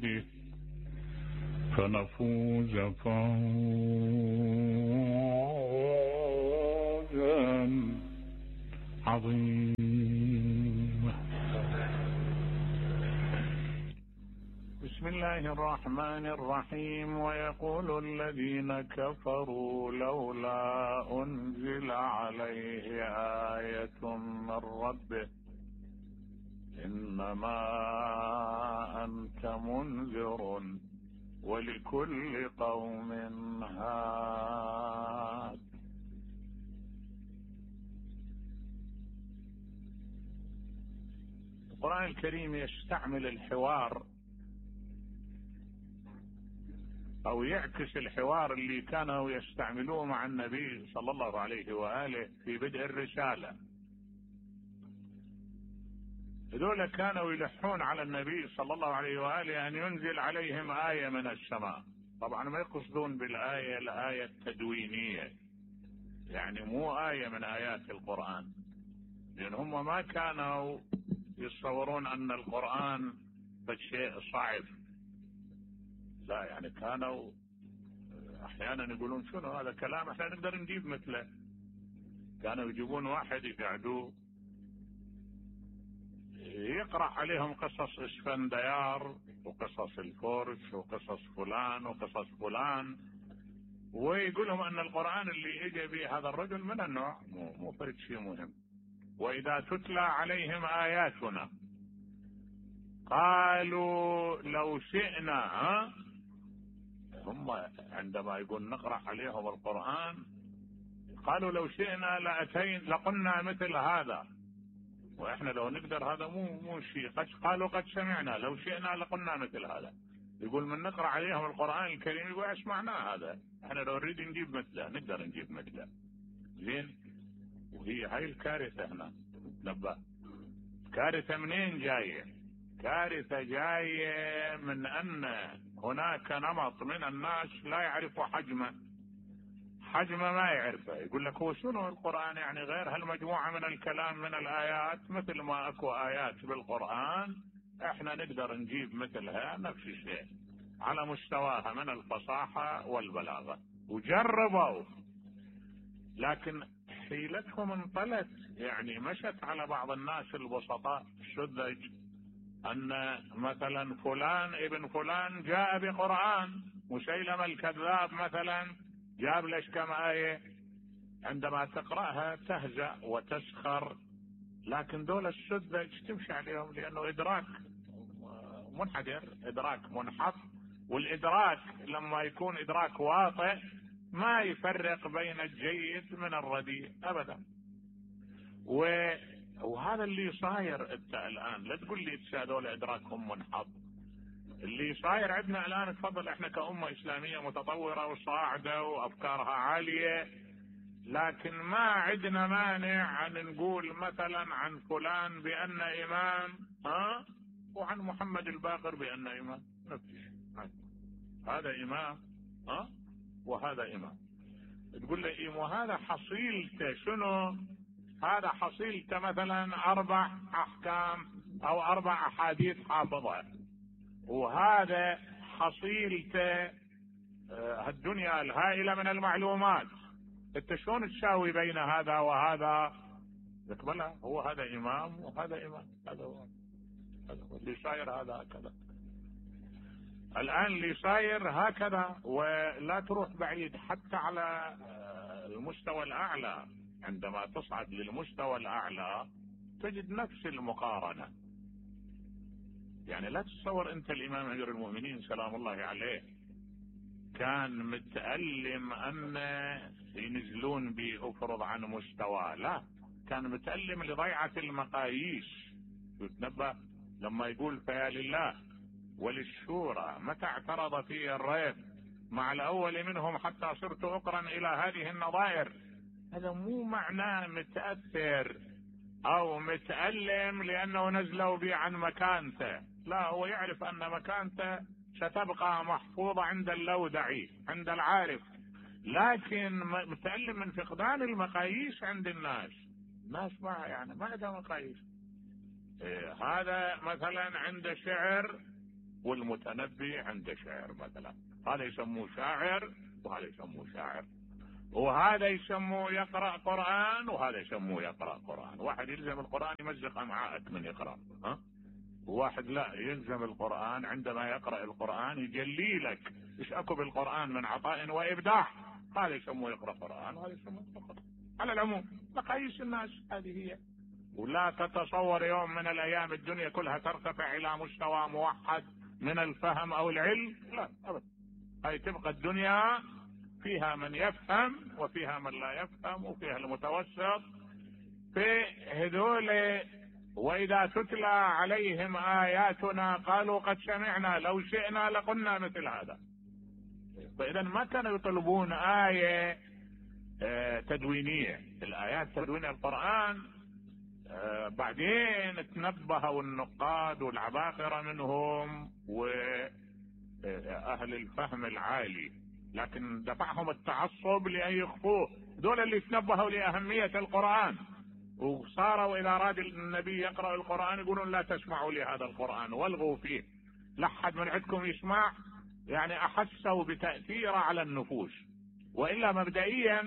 بيده فنفوز فوزا عظيما. بسم الله الرحمن الرحيم. ويقول الذين كفروا لولا أنزل عليه آية من ربه إنما أنت منذر ولكل قوم هاد. القرآن الكريم يستعمل الحوار أو يعكس الحوار اللي كانوا يستعملوه مع النبي صلى الله عليه وآله في بدء الرسالة. هذول كانوا يلحون على النبي صلى الله عليه وآله أن ينزل عليهم آية من السماء. طبعا ما يقصدون بالآية الآية التدوينية، يعني مو آية من آيات القرآن، لأن هم ما كانوا يتصورون أن القرآن شيء صعب. لا، يعني كانوا أحيانا يقولون شنو هذا كلام احنا نقدر نجيب مثله. كانوا يجيبون واحد يقعدوه يقرأ عليهم قصص اسفنديار وقصص الفرس وقصص فلان وقصص فلان، ويقول لهم أن القرآن اللي اجى به هذا الرجل من النوع مو فرد شيء مهم. وإذا تتلى عليهم آياتنا قالوا لو شئنا، هم عندما يقول نقرأ عليهم القرآن قالوا لو شئنا لقلنا مثل هذا، واحنا لو نقدر هذا مو شيء. قالوا قد سمعنا لو شئنا لقلنا مثل هذا. يقول من نقرأ عليهم القرآن الكريم يقول ايش معناه هذا، احنا لو نريد نجيب مثله نقدر نجيب مثله. زين، وهي هاي الكارثة هنا. نبه، كارثة منين جاية؟ كارثة جاية من أن هناك نمط من الناس لا يعرفوا حجمه ما يعرفه. يقول لك هو شنو القرآن يعني غير هالمجموعة من الكلام من الآيات؟ مثل ما أكو آيات بالقرآن احنا نقدر نجيب مثلها نفس الشيء على مستواها من الفصاحة والبلاغة. وجربوا لكن حيلتهم انطلت، يعني مشت على بعض الناس البسطاء السذج أن مثلا فلان ابن فلان جاء بقرآن، مسيلمة الكذاب مثلا جاب لك كم آية، عندما تقرأها تهزأ وتسخر. لكن دول السذج تمشي عليهم لأنه إدراك منحدر، إدراك منحط. والإدراك لما يكون إدراك واطئ ما يفرق بين الجيد من الرديء أبدا. وهذا اللي صاير انت الآن. لا تقول لي هذول إدراكهم منحط. اللي صاير عندنا الآن، تفضل، احنا كأمة إسلامية متطورة وصاعدة وأفكارها عالية، لكن ما عندنا مانع أن نقول مثلا عن فلان بأن إمام، وعن محمد الباقر بأن إمام. هذا إمام وهذا إمام. تقول لي وهذا حصيلته شنو؟ هذا حصيلته مثلا 4 أحكام أو 4 أحاديث حافظة، وهذا حصيلته الدنيا الهائلة من المعلومات. انت شلون تساوي بين هذا وهذا؟ تقبلها. هو هذا إمام وهذا إمام، هذا هو اللي صاير. هذا هكذا الآن اللي صاير هكذا. ولا تروح بعيد حتى على المستوى الأعلى. عندما تصعد للمستوى الأعلى تجد نفس المقارنة. يعني لا تتصور أنت الإمام أمير المؤمنين سلام الله عليه كان متألم أن ينزلون بأفرض عن مستوى، لا، كان متألم لضيعة المقاييس. يتنبه لما يقول فيا لله وللشورى متى اعترض في الريب مع الأول منهم حتى صرت أقرا إلى هذه النظائر. هذا مو معناه متأثر أو متألم لأنه نزلوا به عن مكانته، لا، هو يعرف أن مكانته ستبقى محفوظة عند اللودعي عند العارف، لكن متألم من فقدان المقاييس عند الناس ما عندها مقاييس. هذا مثلا عند شعر والمتنبي عنده شعر مثلا، هذا يسموه شاعر وهذا يسموه شاعر، وهذا يسموه يقرأ قرآن وهذا يسموه يقرأ قرآن. واحد يلزم القرآن يمزق أمعاءك من يقرأ، وواحد لا يلزم القرآن عندما يقرأ القرآن يجلي لك ايش اكو بالقرآن من عطاء وإبداع، هذا يسموه يقرأ قرآن وهذا يسموه يقرأ قرآن. على العموم مقاييس الناس هذه هي، ولا تتصور يوم من الأيام الدنيا كلها ترتفع إلى مستوى موحد من الفهم أو العلم، لا أبدا. هاي تبقى الدنيا فيها من يفهم وفيها من لا يفهم وفيها المتوسط. في هذول وإذا تتلى عليهم آياتنا قالوا قد سمعنا لو شئنا لقلنا مثل هذا. فإذا ما كانوا يطلبون آية تدوينية، الآيات تدوين القرآن بعدين تنبهوا النقاد والعباقرة منهم وأهل الفهم العالي، لكن دفعهم التعصب لأن يخفوه. دول اللي تنبهوا لأهمية القرآن وصاروا إذا أراد النبي يقرأ القرآن يقولون لا تسمعوا لهذا القرآن والغوا فيه، لا أحد من عندكم يسمع، يعني أحسوا بتأثير على النفوس. وإلا مبدئيا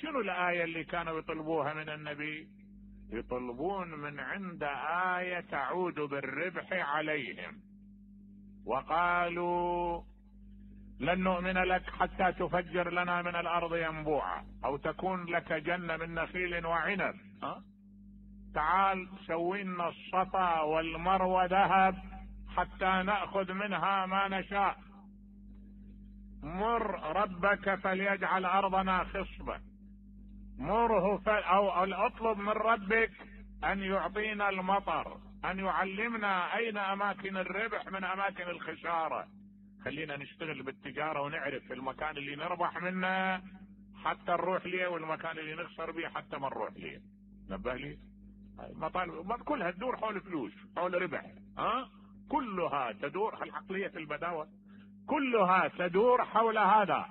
شنو الآية اللي كانوا يطلبوها من النبي؟ يطلبون من عند آية تعود بالربح عليهم، وقالوا لن نؤمن لك حتى تفجر لنا من الأرض ينبوعا أو تكون لك جنة من نخيل وعنب، تعال سوي لنا الصفا والمروة ذهب حتى نأخذ منها ما نشاء، مر ربك فليجعل أرضنا خصبة، مره أو اطلب من ربك أن يعطينا المطر، أن يعلمنا أين أماكن الربح من أماكن الخسارة، خلينا نشتغل بالتجارة ونعرف المكان اللي نربح منه حتى نروح ليه والمكان اللي نخسر به حتى ما نروح ليه. نبه لي مطالب كلها تدور حول فلوس، حول ربح، كلها تدور العقلية البداوة كلها تدور حول هذا.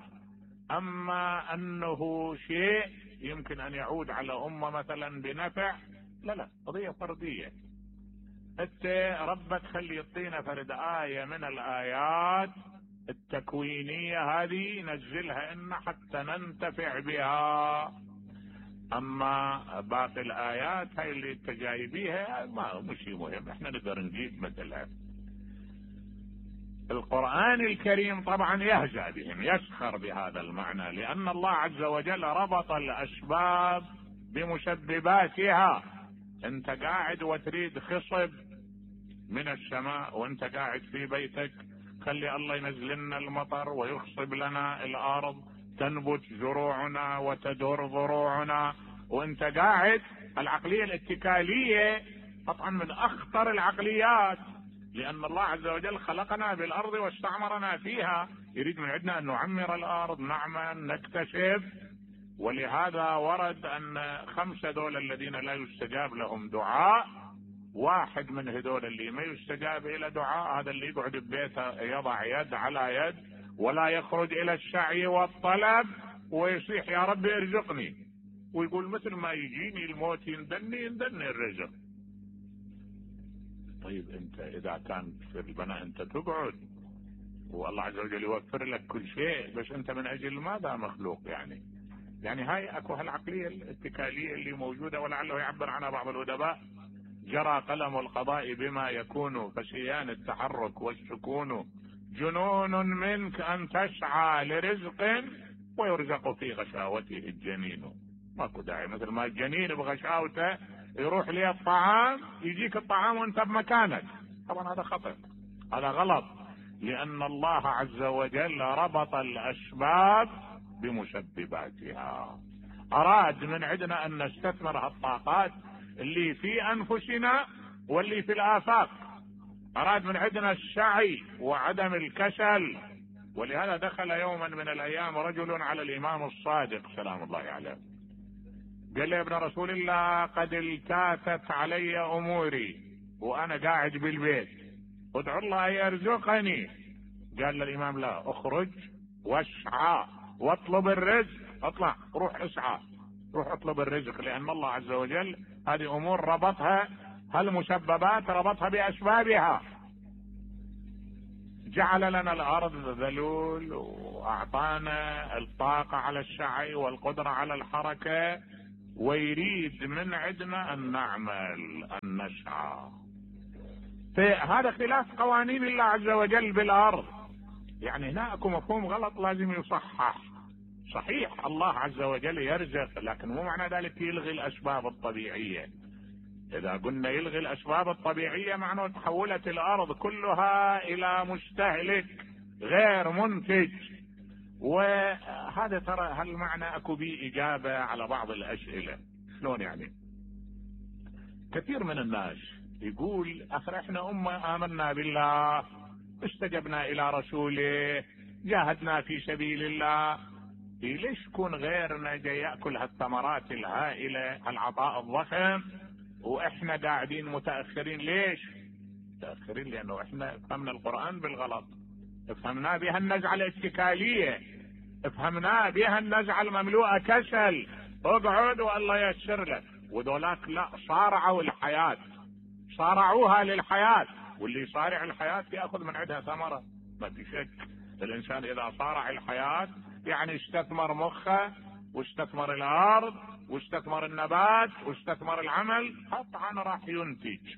اما انه شيء يمكن ان يعود على امة مثلا بنفع، لا قضية فردية. انت ربك خلي يعطينا فرد آية من الآيات التكوينية هذه ننزلها إن حتى ننتفع بها. اما باقي الآيات هاي اللي انت جايبيها ما مش مهم، احنا نقدر نجيب مثلها. القرآن الكريم طبعا يهزأ بهم، يسخر بهذا المعنى، لأن الله عز وجل ربط الأسباب بمسبباتها. انت قاعد وتريد خصب من السماء وانت قاعد في بيتك، خلي الله ينزل لنا المطر ويخصب لنا الأرض تنبت زروعنا وتدور ضروعنا وانت قاعد. العقلية الاتكالية طبعا من أخطر العقليات، لأن الله عز وجل خلقنا بالأرض واستعمرنا فيها، يريد من عندنا أن نعمر الأرض، نعمل، نكتشف. ولهذا ورد أن 5 دول الذين لا يستجاب لهم دعاء، واحد من هذول اللي ما يستجاب إلى دعاء هذا اللي يقعد ببيته يضع يد على يد ولا يخرج إلى السعي والطلب ويصيح يا رب ارزقني، ويقول مثل ما يجيني الموت يندني الرزق. طيب انت اذا كان في البناء انت تقعد والله عز وجل يوفر لك كل شيء، بس انت من اجل ماذا مخلوق؟ يعني هاي اكو هالعقلية الاتكالية اللي موجودة، ولعله يعبر عنها بعض الادباء: جرى قلم القضاء بما يكون فسيان التحرك والسكون، جنون منك ان تسعى لرزق ويرزق في غشاوته الجنين. ماكو داعي مثل ما الجنين بغشاوته يروح لي الطعام يجيك الطعام وانت بمكانك، طبعا هذا خطأ، هذا غلط، لأن الله عز وجل ربط الأسباب بمسبباتها. أراد من عندنا أن نستثمر هالطاقات اللي في أنفسنا واللي في الآفاق، أراد من عندنا السعي وعدم الكسل. ولهذا دخل يوما من الأيام رجل على الإمام الصادق سلام الله عليه، قال لي يا ابن رسول الله قد التاتت علي أموري وأنا قاعد بالبيت، ادعو الله يرزقني. قال للإمام لا، اخرج واسعى واطلب الرزق، اطلع روح اسعى، روح اطلب الرزق، لأن الله عز وجل هذه أمور ربطها، هالمسببات ربطها بأسبابها. جعل لنا الارض ذلول واعطانا الطاقة على السعي والقدرة على الحركة، ويريد من عندنا ان نعمل ان نسعى. هذا خلاف قوانين الله عز وجل بالارض. يعني هنا اكو مفهوم غلط لازم يصحح. صحيح الله عز وجل يرزق، لكن مو معنى ذلك يلغي الاسباب الطبيعية. اذا قلنا يلغي الاسباب الطبيعية معناه تحولت الارض كلها الى مستهلك غير منتج. وهذا ترى هالمعنى اكو بيه اجابة على بعض الاسئلة. شلون يعني؟ كثير من الناس يقول اخر احنا امة امنا بالله، استجبنا الى رسوله، جاهدنا في سبيل الله، ليش يكون غيرنا جاي ياكل هالثمرات الهائلة العطاء الضخم واحنا قاعدين متاخرين؟ ليش متاخرين؟ لانه احنا فهمنا القرآن بالغلط، فهمنا بها النزعة الاتكالية، فهمنا بها النزعة المملوءة كسل، اقعد والله ييسر لك. وذولاك لا، صارعوا الحياة، صارعوها للحياة، واللي يصارع الحياة ياخذ من عندها ثمرة. ما في شك الانسان اذا صارع الحياة يعني استثمر مخه واستثمر الارض واستثمر النبات واستثمر العمل، قطعا راح ينتج.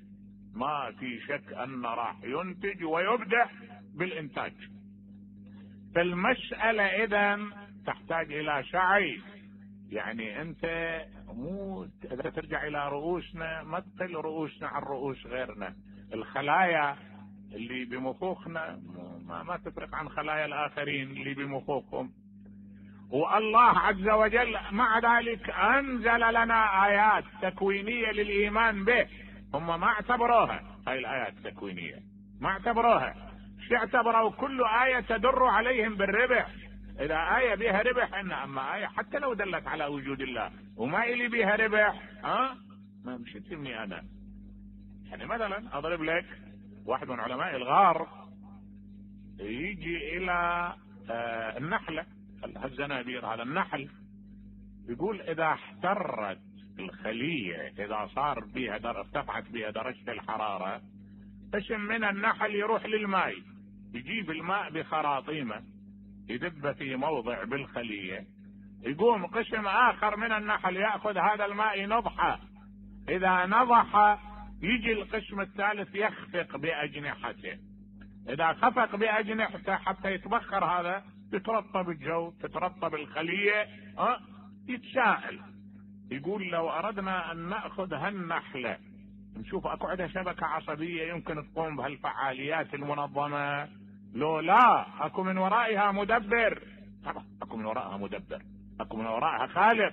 ما في شك ان راح ينتج ويبدع بالانتاج. فالمسألة اذا تحتاج الى سعي. يعني انت مو اذا ترجع الى رؤوسنا ما تقل رؤوسنا عن رؤوس غيرنا. الخلايا اللي بمخوخنا ما تفرق عن خلايا الاخرين اللي بمخوخهم. والله عز وجل مع ذلك انزل لنا ايات تكوينية للايمان به. هم ما اعتبروها هاي الايات التكوينية، ما اعتبروها. شو اعتبروا؟ كل آية تدر عليهم بالربح. اذا آية بها ربح اما آية حتى لو دلت على وجود الله وما إلي بها ربح ما مش تهمني انا. يعني مثلا اضرب لك واحد من علماء الغار يجي الى النحلة، الزنابير، هذا النحل، يقول اذا احترت الخلية، اذا صار بها ارتفعت بها درجة الحرارة، قسم من النحل يروح للماء، يجيب الماء بخراطيمه يدب في موضع بالخلية، يقوم قسم اخر من النحل يأخذ هذا الماء نضحه، اذا نضح يجي القسم الثالث يخفق باجنحته، اذا خفق باجنحته حتى يتبخر هذا يترطب الجو، تترطب الخلية، يتساءل. يقول لو اردنا ان نأخذ هالنحلة نشوف اكو عندها شبكة عصبية يمكن تقوم بهالفعاليات المنظمة، لو لا اكو من ورائها مدبر. طبعا اكو من وراءها مدبر، اكو من وراءها خالق.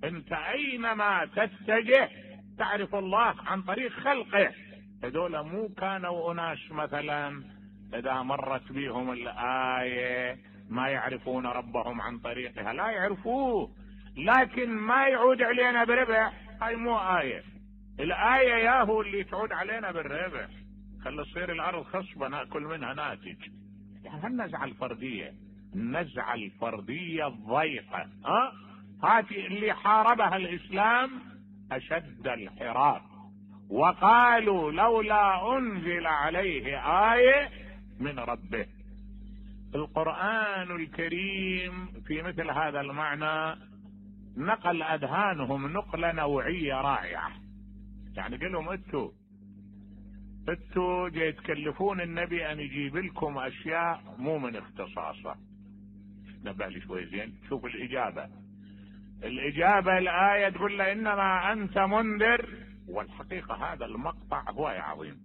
انت اينما تتجه تعرف الله عن طريق خلقه. هذول مو كانوا اناس مثلا اذا مرت بهم الآية ما يعرفون ربهم عن طريقها، لا يعرفوه، لكن ما يعود علينا بربح. هاي مو آية. الآية ياهو اللي تعود علينا بالربح، خلي تصير الارض خصبة ناكل منها ناتج. يعني هالنزعة الفردية، النزعة الفردية الضيقة، هاتي اللي حاربها الاسلام اشد الحراب، وقالوا لولا انزل عليه آية من ربه. القرآن الكريم في مثل هذا المعنى نقل اذهانهم نقلة نوعية رائعة. يعني قال لهم انتوا جاي تكلفون النبي ان يجيب لكم اشياء مو من اختصاصه. نبه لي شوي زين، شوف الاجابة الآية تقول له انما انت منذر، والحقيقة هذا المقطع هو عظيم.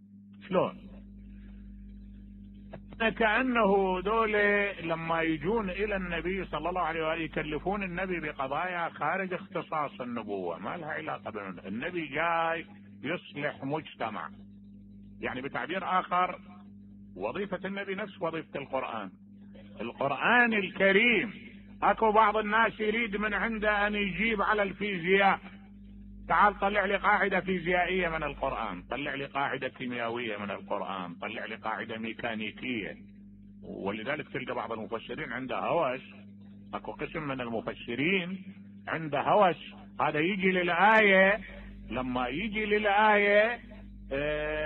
شلون؟ كأنه دول لما يجون الى النبي صلى الله عليه وآله يكلفون النبي بقضايا خارج اختصاص النبوة، ما لها علاقة بالنبي. النبي جاي يصلح مجتمع. يعني بتعبير اخر وظيفة النبي نفس وظيفة القرآن. القرآن الكريم اكو بعض الناس يريد من عنده ان يجيب على الفيزياء، تعال طلع لي قاعدة فيزيائية من القرآن، طلع لي قاعدة كيميائية من القرآن، طلع لي قاعدة ميكانيكية. ولذلك تلقى بعض المفسرين عنده هوس، اكو قسم من المفسرين عنده هوس، هذا يجي للآية، لما يجي للآية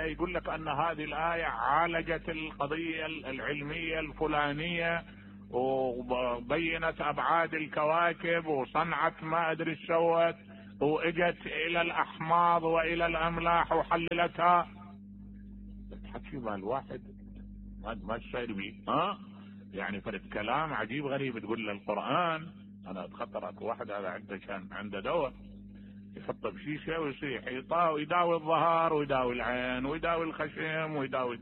يقول لك ان هذه الآية عالجت القضية العلمية الفلانية وبينت ابعاد الكواكب وصنعت ما ادري ايش سوت واجت الى الاحماض والى الاملاح وحللتها. تحكي مع الواحد ما تصير بيه يعني فرد كلام عجيب غريب. تقول له القرآن، انا اتخطرت واحد هذا عنده كان عنده دواء يحطه بشيشه ويصيح ويداوي الظهر ويداوي العين ويداوي الخشم ويداوي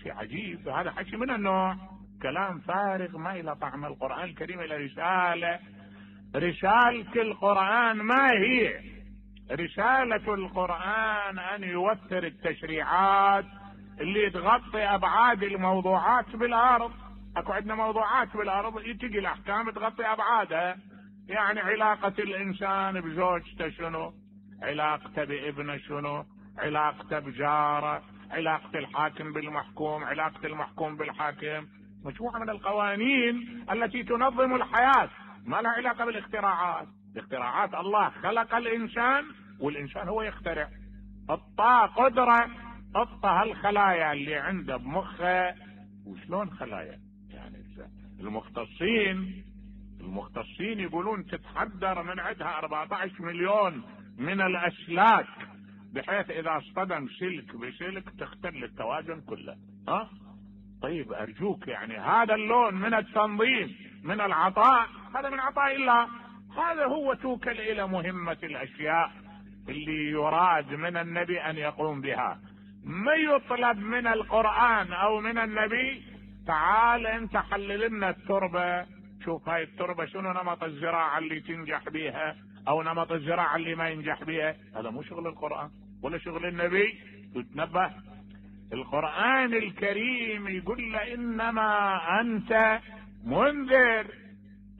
شيء عجيب. هذا حكي من النوع كلام فارغ ما إلى طعم. القرآن الكريم إلى رسالة القرآن ما هي؟ رسالة القرآن أن يوفر التشريعات اللي تغطي أبعاد الموضوعات بالأرض. أكو عندنا موضوعات بالأرض تجي الأحكام تغطي أبعادها. يعني علاقة الإنسان بزوجته شنو، علاقته بابنه شنو، علاقته بجاره، علاقة الحاكم بالمحكوم، علاقة المحكوم بالحاكم. مجموعة من القوانين التي تنظم الحياة ما لها علاقة بالاختراعات. الاختراعات الله خلق الإنسان والإنسان هو يخترع. اعطاه قدرة، اعطى هالخلايا اللي عنده بمخه. وشلون خلايا؟ يعني المختصين يقولون تتحدر من عندها 14 مليون من الأسلاك، بحيث إذا اصطدم سلك بسلك تختل التوازن كله. طيب أرجوك، يعني هذا اللون من التنظيم من العطاء، هذا من عطاء الله. هذا هو توكل إلى مهمة الأشياء اللي يراد من النبي أن يقوم بها. ما يطلب من القرآن أو من النبي تعال أنت حلل لنا التربة، شوف هاي التربة شنو نمط الزراعة اللي تنجح بها أو نمط الزراعة اللي ما ينجح بها. هذا مو شغل القرآن ولا شغل النبي. تتنبه، القرآن الكريم يقول له إنما أنت منذر،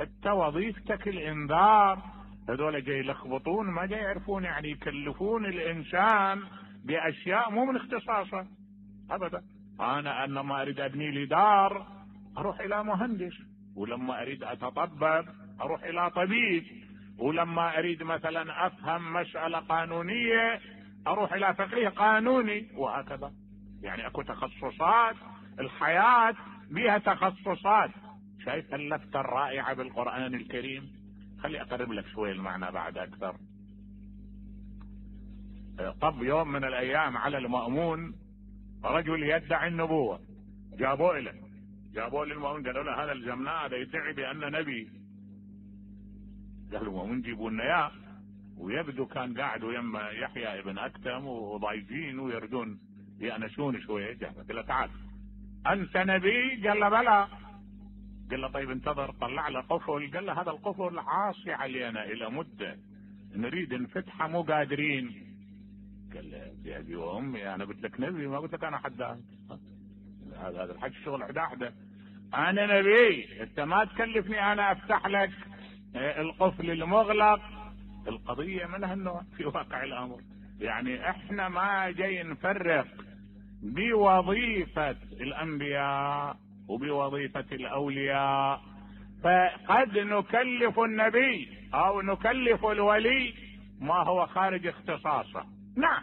انت وظيفتك الانذار. هذول جاي يلخبطون، ما جاي يعرفون، يعني يكلفون الانسان باشياء مو من اختصاصه ابدا. انا لما اريد ابني لي دار اروح الى مهندس، ولما اريد اتطبب اروح الى طبيب، ولما اريد مثلا افهم مسألة قانونية اروح الى فقيه قانوني، وهكذا. يعني اكو تخصصات، الحياة بها تخصصات. شايف اللفتة الرائعة بالقرآن الكريم؟ خلي اقرب لك شوي المعنى بعد اكثر. طب يوم من الايام على المأمون رجل يدعي النبوة، جابوه للمأمون قالوا له هذا الجمناء هذا يدعي بأن نبي. قالوا المأمون جيبوا لنا اياه، ويبدو كان قاعد ويما يحيى ابن اكتم وضايجين ويردون يأنسون شوية. قال له تعال انت نبي؟ قال له بلى. قال له طيب انتظر. طلع له قفل، قال له هذا القفل عاصي علينا الى مدة، نريد نفتحه مو قادرين. قال له يا ابي وامي انا قلت لك نبي، ما قلت لك انا حداد. هذا الحج شغل حداحده. انا نبي، انت ما تكلفني انا افتح لك القفل المغلق. القضية من هالنوع في واقع الامر. يعني احنا ما جاي نفرق بوظيفة الانبياء وبوظيفة الاولياء، فقد نكلف النبي او نكلف الولي ما هو خارج اختصاصه. نعم،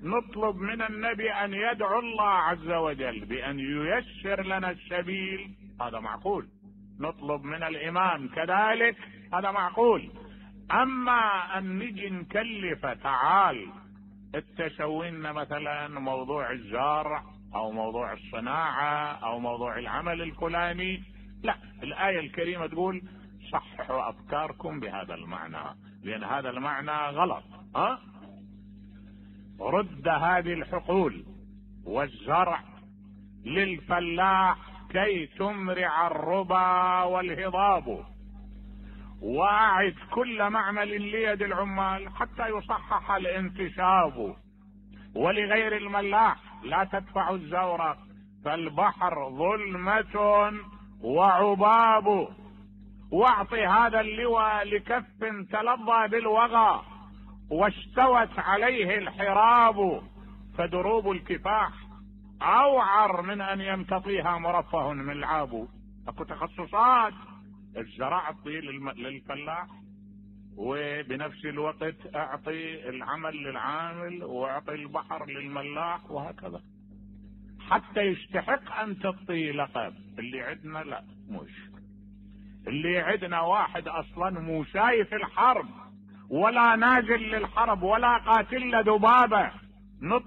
نطلب من النبي ان يدعو الله عز وجل بان ييسر لنا السبيل، هذا معقول. نطلب من الامام كذلك، هذا معقول. اما ان نجي نكلف تعال التسوين مثلا موضوع الزرع او موضوع الصناعة او موضوع العمل الفلاني، لا. الآية الكريمة تقول صححوا افكاركم بهذا المعنى، لان هذا المعنى غلط. رد هذه الحقول والزرع للفلاح كي تمرع الربا والهضاب، واعد كل معمل ليد العمال حتى يصحح الانتشاب، ولغير الملاح لا تدفع الزورق، فالبحر ظلمة وعباب، واعطي هذا اللواء لكف تلظى بالوغى واستوت عليه الحراب، فدروب الكفاح اوعر من ان يمتطيها مرفه ملعاب. اكو تخصصات. الزراعة للفلاح وبنفس الوقت اعطي العمل للعامل واعطي البحر للملاح وهكذا حتى يستحق ان تعطي لقب. اللي عندنا لا، مش اللي عندنا واحد اصلا مو شايف الحرب ولا نازل للحرب ولا قاتل ذبابه